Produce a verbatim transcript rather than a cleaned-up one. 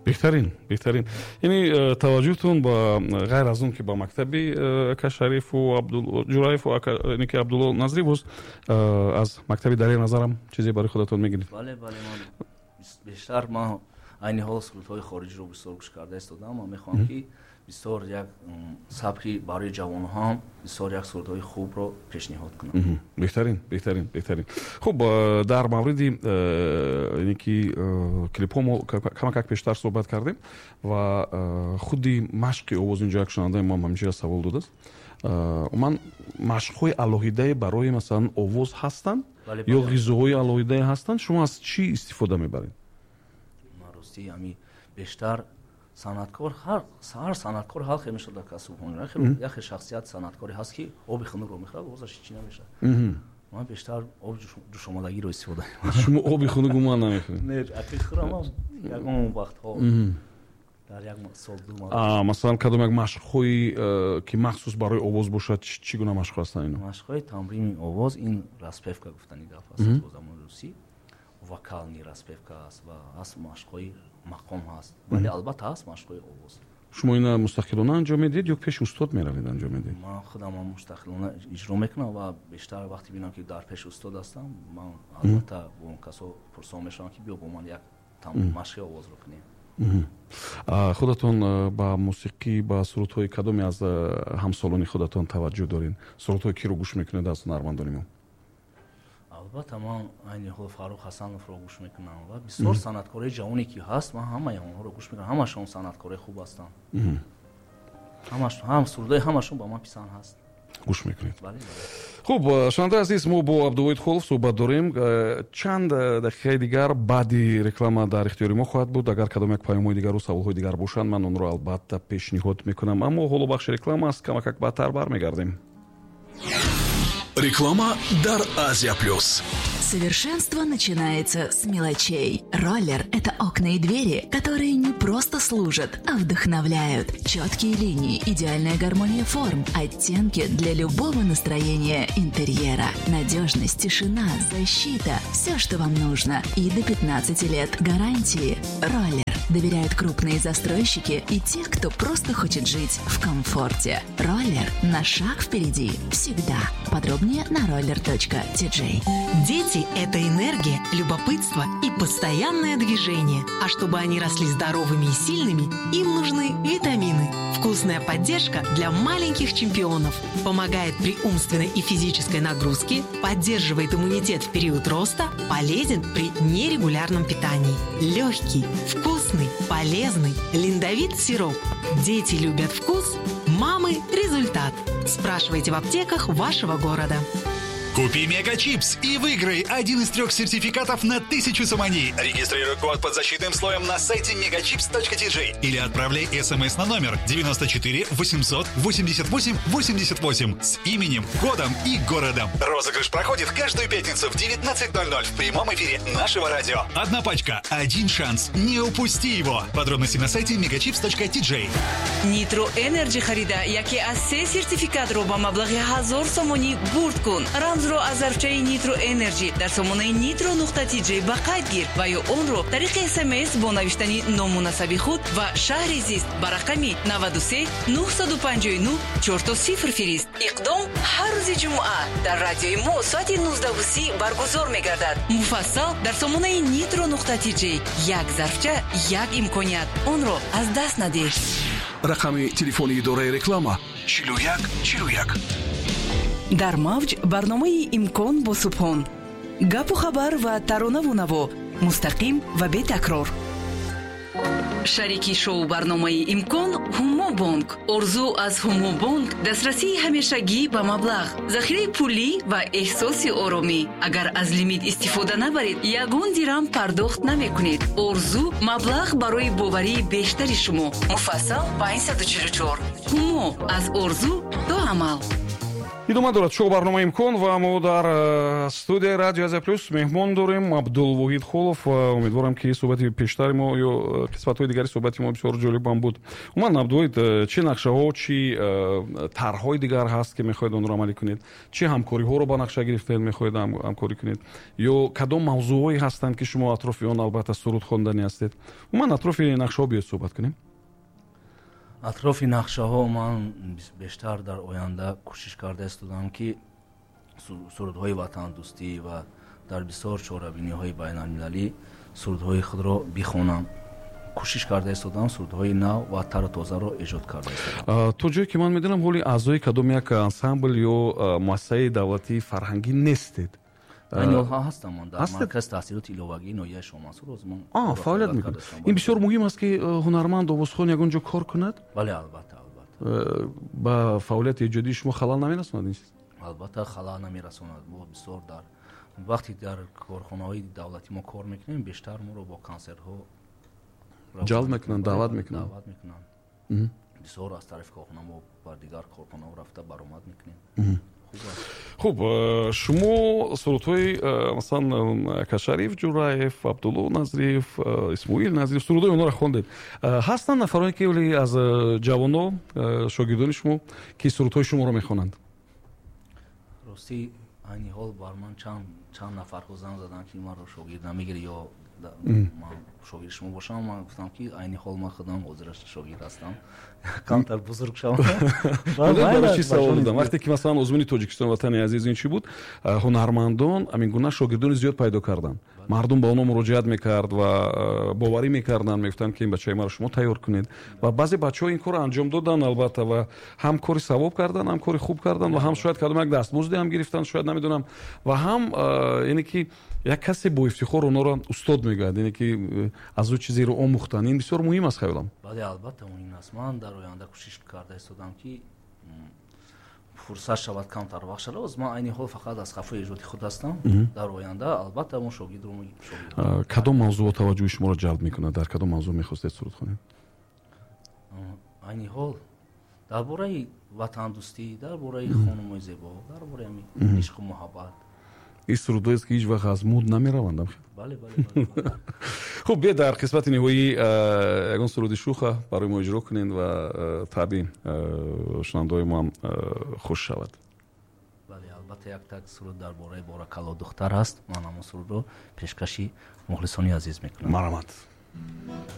Беҳтарин, беҳтарин. Яъне э, таваҷҷӯҳтон ба ғайр аз он ки ба мактаби э, ака Шарифу Ҷураеву яъне ки Абдулло Назрӣ, боз э, аз мактаби Далер Назарам чизе барои худатон мегиред? Бале, бале, ман бештар, ман айни ҳол сурудҳои хориҷиро бисёр гӯш карда истодам. Ман мехоҳам, ки бисёр як сабки барои ҷавонҳо, бисёр як сурудҳои хубро пешниҳод кунам. Беҳтарин, беҳтарин, беҳтарин. Хуб, дар мавриди яъне ки клипҳо мо камакак пештар суҳбат кардем ва худи машқи овоз. Инҷо як шунавандаи мо ҳам ҳамчунин савол додааст: умуман машқҳои алоҳидае барои, масалан, овоз ҳастанд ё ғизоҳои алоҳидае ҳастанд? Шумо аз чӣ истифода мебаред? Ростӣ, ҳами бештар санъаткор, ҳар ҳар санъаткор ҳар хел мешавад. Касбу як хел шахсият санъаткоре ҳаст, ки оби хунукро мехӯрад, овозаш ҳеҷ намешавад. Ман бештар оби ҷӯшомадагиро истифода. Шумо оби хунук умуман намехӯред? Не, аки хӯрам, ягон вақтҳо, дар як сол ду. Масалан, кадом як машқҳои э, ки махсус барои овоз бошад, чӣ гуна машқҳо ҳастанд ино? Машқҳои тамрини овоз ин распевка гуфтани гап аст бо забони русӣ, вокальный распевка аст ва ҳаст машқҳои мақом ҳаст, вале албатта ҳаст машқҳои овоз. Шумо ина мустақилона анҷом медиҳед ё пеши устод меравед, анҷом медиҳед? Ман худам мустақилона иҷро мекунам ва бештар вақте бинам, ки дар пеши устод ҳастам, ман албатта бо он касо пурсон мешавам, ки биё бо ман як машқи овозро кунем. Худатон ба мусиқӣ, ба сурудҳои кадоме аз ҳамсолони худатон таваҷҷӯҳ доред? Сурудҳои киро гӯш мекунед аз ҳунармандони мо? Албатта, ман айни ҳол Фаррух Ҳасановро гӯш мекунам ва бисёр санъаткорои ҷавоне ки ҳаст, ман ҳамаи онҳоро гӯш мекунам. Ҳамашон санъаткорои хуб ҳастанд, ҳам сурудҳои ҳамашон ба ман писанд ҳаст. Гӯш мекунед. Хуб, шунавандаи азиз, мо бо Абдувоҳид Холов суҳбат дорем. Чанд дақиқаи дигар баъди реклама дар ихтиёри мо хоҳад буд. Агар кадом як паёмҳои дигару саволҳои дигар бошанд, ман онро албатта пешниҳод мекунам, аммо ҳоло бахши реклама аст. Камакак баъдтар бармегардем. Реклама дар Азия Плюс. Совершенство начинается с мелочей. Роллер – это окна и двери, которые не просто служат, а вдохновляют. Четкие линии, идеальная гармония форм, оттенки для любого настроения интерьера. Надежность, тишина, защита – все, что вам нужно. И до пятнадцати лет гарантии. Роллер доверяют крупные застройщики и те, кто просто хочет жить в комфорте. Роллер на шаг впереди всегда. Подробнее на roller.tj. Дети – это энергия, любопытство и постоянное движение. А чтобы они росли здоровыми и сильными, им нужны витамины. Вкусная поддержка для маленьких чемпионов. Помогает при умственной и физической нагрузке, поддерживает иммунитет в период роста, полезен при нерегулярном питании. Легкий, вкусный, полезный Линдовит сироп. Дети любят вкус, мамы – результат. Спрашивайте в аптеках вашего города. Купи Мегачипс и выиграй один из трех сертификатов на тысячу сомони. Регистрируй код под защитным слоем на сайте megachips.tj или отправляй смс на номер девяносто четыре восемьсот восемьдесят восемь восемьдесят восемь с именем, годом и городом. Розыгрыш проходит каждую пятницу в девятнадцать ноль ноль в прямом эфире нашего радио. Одна пачка, один шанс. Не упусти его. Подробности на сайте megachips.tj. Нитро Энерджи харида, яке аз се сертификатро ба маблағи ҳазор сомонӣ бурд кун. Рамзро аз зарфчаи Нитро Энерджи дар сомонаи нитро нуқта тиҷ ба қайд гир ва ё онро тариқи смс бо навиштани ному насаби худ ва шаҳри зист ба рақами наваду се нӯҳсаду панҷоҳу нӯҳ чорто сифр фирист. Иқдом ҳар рӯзи ҷумъа дар радиои мо соати нуздаҳу си баргузор мегардад. Муфассал дар сомонаи нитро нуқта тиҷ. Як зарфча, як имконият, онро аз даст надеҳ. Рақами телефони идораи реклама чилу як чилу як. Дар мавҷ барномаи «Имкон» бо Субҳон: гапу хабар ва таронаву наво, мустақим ва бетакрор. Шарики шоу барномаи «Имкон» Ҳумо Бонк. Орзу аз Ҳумо Бонк: дастрасии ҳамешагӣ ба маблағ, захираи пулӣ ва эҳсоси оромӣ. Агар аз лимит истифода набаред, ягон дирам пардохт намекунед. Орзу: маблағ барои боварии бештари шумо. Муфассал панҷсаду чилу чор. Ҳумо: аз орзу до амал. Идома дорад шоу барномаи «Имкон» ва мо дар студияи Радио Азия Плюс меҳмон дорем, Абдулвоҳид Холов. Умедворам, ки суҳбати пештари мо ё қисматҳои дигари суҳбати мо бисёр ҷолибам буд. Умуман, Абдулвоҳид, чӣ нақшаҳо, чӣ тарҳҳои дигар ҳаст, ки мехоҳед онро амалӣ кунед? Чӣ ҳамкориҳоро ба нақша гирифтаед, мехоҳед ҳамкорӣ кунед, ё кадом мавзӯъҳое ҳастанд, ки шумо атрофи он албатта суруд хонданӣ ҳастед? Умуман, атрофи нақшаҳо биёед суҳбат кунем. Атрофи нақшаҳо ман бештар дар оянда кӯшиш карда истодам, ки сурудҳои ватандӯстӣ ва дар бисёр чорабиниҳои байналмилалӣ сурудҳои худро бихонам. Кӯшиш карда истодам, сурудҳои нав ва тару тозаро эҷод карда истодам. То ҷое ки ман медонам, ҳоли аъзои кадом як ансамбл ё муассисаи давлатии фарҳангӣ нестед. Айни ҳол ҳастам, ман дар маркази таҳсилоти иловагии ноҳияи Шоҳмансур фаъолият мекунед. Ин бисёр муҳим аст, ки ҳунарманд, овозхон ягон ҷо кор кунад. Бале, албатта, албатта. Ба фаъолияти эҷодии шумо халал намерасонад ин чиз? Албатта, халал намерасонад. Мо бисёр дар вақте дар корхонаҳои давлатӣ мо кор мекунем, бештар моро бо консертҳо ҷалб мекунанд, даъват мекунанд. Даъват мекунанд. Бисёр аз тарафи корхона мо бар дигар корхонаҳо рафта баромад мекунем. Хуб, шумо сурудҳои, масалан, Кашариф Ҷураев, Абдулло Назриев, Исмоил Назриев, сурудҳои онҳоро хондед. Ҳастанд нафароне, ки вале аз ҷавоно, шогирдони шумо, ки сурудҳои шуморо мехонанд? Ростӣ, айни ҳол бар ман чанд чанд нафарҳо занг заданд, ки маро шогирд намегирӣ ё ман шогирди шумо бошам. Ман гуфтам, ки айни ҳол ман худам ҳозир шогирд ҳастам, камтар бузург шавам. Барои чӣ савол додам? Вақте ки, масалан, озмуни Тоҷикистон Ватани азиз ин чӣ буд, ҳунармандон ҳамин гуна шогирдони зиёд пайдо карданд. Мардум ба онҳо муроҷиат мекард ва боварӣ мекарданд, мегуфтанд, ки ин бачаи маро шумо тайёр кунед. Ва баъзе бачаҳо ин корро анҷом доданд, албатта, ва ҳам кори савоб карданд, ҳам кори хуб карданд ва ҳам шояд кадом як дастмузде ҳам гирифтанд, шояд, намедонам, ва ҳам яъне ки як касе бо ифтихор онҳоро устод мегӯяд, яъне ки аз ӯ чизеро омӯхтанд. Ин бисёр муҳим аст, хаёлам. Бале, албатта, муҳим аст. Ман дар оянда кӯшиш карда истодам, ки фурсат шавад, камтар вақт шавад. Ман айни ҳол фақат аз қафои эҷоди худ ҳастам. Дар оянда албатта мо шогирдро Кадом мавзӯъ таваҷҷӯҳи шуморо ҷалб мекунад? Дар кадом мавзӯъ мехостед суруд хонед? Айни ҳол дар бораи ватандӯстӣ, дар бораи хонумои зебо, дар бораи ишқу муҳаббат. Ин сурудҳоест, ки ҳеҷ вақт аз муд намераванд. Бале, бале. Хуб, биёед дар қисмати ниҳоӣ ягон суруди шуха барои мо иҷро кунед ва таъби шунавандаҳои мо ҳам хуш шавад. Бале, албатта, як так суруд дар бораи Боракалло духтар ҳаст. Ман ҳамон сурудро пешкаши мухлисони азиз мекунам. Марҳамат.